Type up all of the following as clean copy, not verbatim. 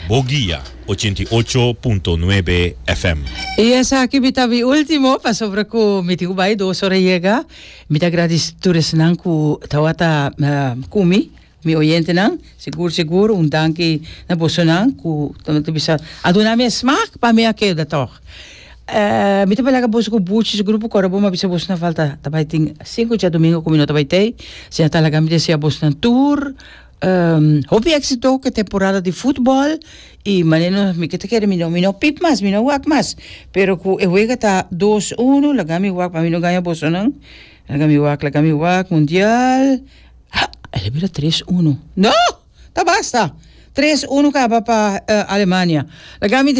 Boguia 88.9 FM. I esaki mi ta mi ultimo pasobra ku mi tin ku bai dos ora yega. Mi ta gradisi tur esnan ku tawata ku mi, mi oyentenan. Sigur sigur un danki na bosonan ku ta bisa a duna mi e smak pa mi a keda tòg. Mi ta bai laga boso ku Buchi su grupo kòrda bo mi a bisa boso na falta ta bai tin sinku djadumingu ku mi no ta bai tei. Asina ta laga mi desea bosonan tur Hopi éxito ku e temporada di futbòl i manera nos mi ke ta kere mi no mi no pip mas mi no wak mas pero ku e wega ta dos uno laga mi wak pa mi no gaña bosonan laga mi wak laga mi wak mundial ha el a bira tres uno no ta basta tres uno kaba pa Alemania laga mi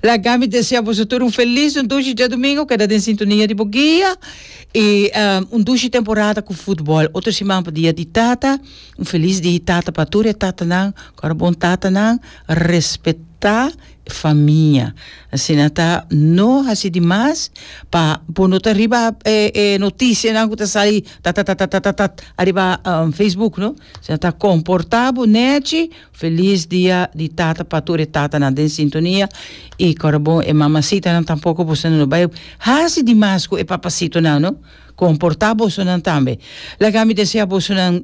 Laga mi desea boso tur un felis un dushi djadumingu, keda den sintonia di bo guia i un dushi temporada ku futbòl. Otro siman pa dia di tata, un felis dia di tata pa tur e tatanan, ku ora bon tatanan respetá famia. Asina ta no hasi di mas pa bo no ta riba e e notisianan ku ta sali tatatatatat ariba Facebook no. Asina ta komportá bo nèchi. Feliz dia di tata pa tur e tatanan den sintonia y kora bon e mamacitanan tampoco bosonan no bay haci di mas cu e papacitonan no comporta bosonan tambe laga mi desea bosonan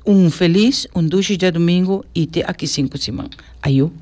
un feliz un dushi djadomingo y te aki cinco siman ayo.